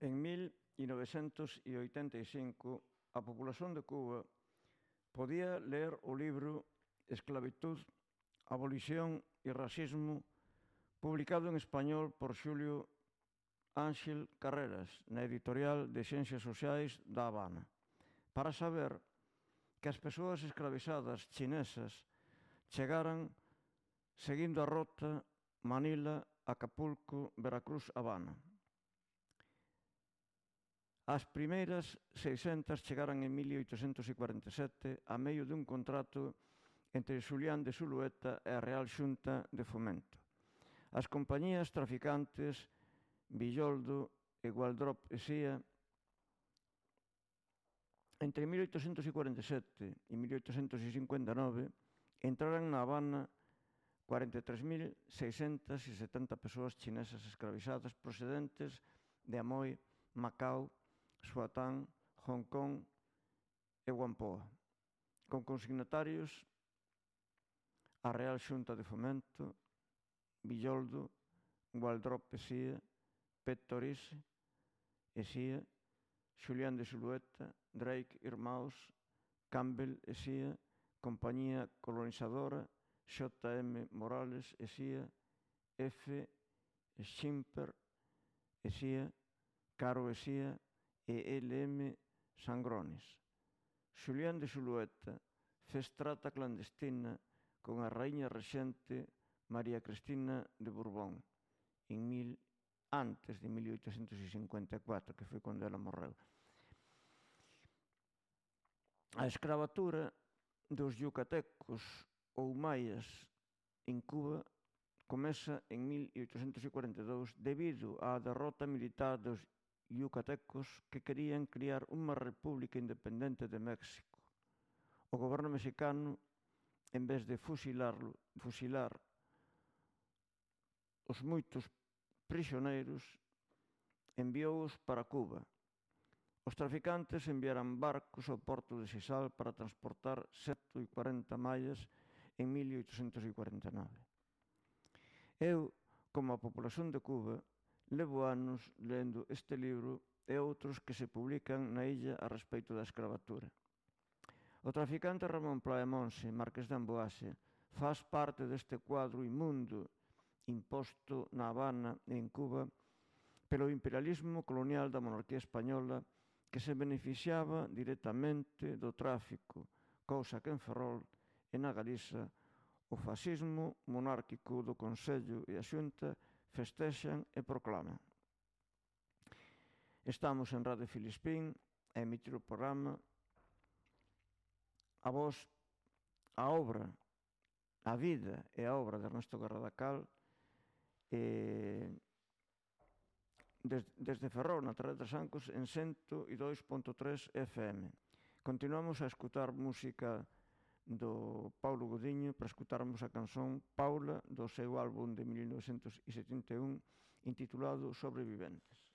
En 1985, a populación de Cuba podía ler o libro Esclavitud, abolición e racismo, publicado en español por Xulio Ángel Carreras na editorial de Ciencias Sociais da Habana, para saber que as persoas esclavizadas chinesas chegaran seguindo a rota Manila, Acapulco, Veracruz, Habana. As primeiras 600 chegaran en 1847 a medio dun contrato entre Xulián de Zulueta e a Real Xunta de Fomento. As compañías traficantes Villoldo e Gualdrop e Sia entre 1847 e 1859 entraran na Habana 43.670 persoas chinesas esclavizadas procedentes de Amoy, Macao, Suatán, Hong Kong e Whampoa, con consignatarios a Real Xunta de Fomento, Villoldo, Gualdrop e Sia, Pettorice e Sia, Xulián de Zulueta, Drake Irmãos, Campbell e Sia, Compañía Colonizadora, J.M. Morales e Sia, F. Schimper e Sia, Caro e Sia e L.M. Sangronis. Xulián de Zulueta fez trata clandestina con a raíña rexente María Cristina de Borbón antes de 1854, que foi cando ela morreu. A escravatura dos yucatecos ou maias en Cuba comeza en 1842 debido á derrota militar dos yucatecos que querían criar unha república independente de México. O goberno mexicano, en vez de fusilar os moitos prisioneiros, enviouos para Cuba. Os traficantes enviaran barcos ao porto de Sisal para transportar 140 maias en 1849. Eu, como a populación de Cuba, levo anos lendo este libro e outros que se publican na illa a respeito da escravatura. O traficante Ramón Playa Monse, marqués de Amboase, faz parte deste cuadro inmundo imposto na Habana e en Cuba pelo imperialismo colonial da monarquía española que se beneficiaba directamente do tráfico, cousa que en Ferrol e na Galiza o fascismo monárquico do Consello e a Xunta festexan e proclaman. Estamos en Radio Filispín a emitir o programa A Voz, a obra, a vida e a obra de Ernesto Garradacal desde Ferrol, na Terra de Trasancos, en 102.3 FM. Continuamos a escutar música do Paulo Godiño para escutarmos a canción Paula do seu álbum de 1971 intitulado Sobreviventes.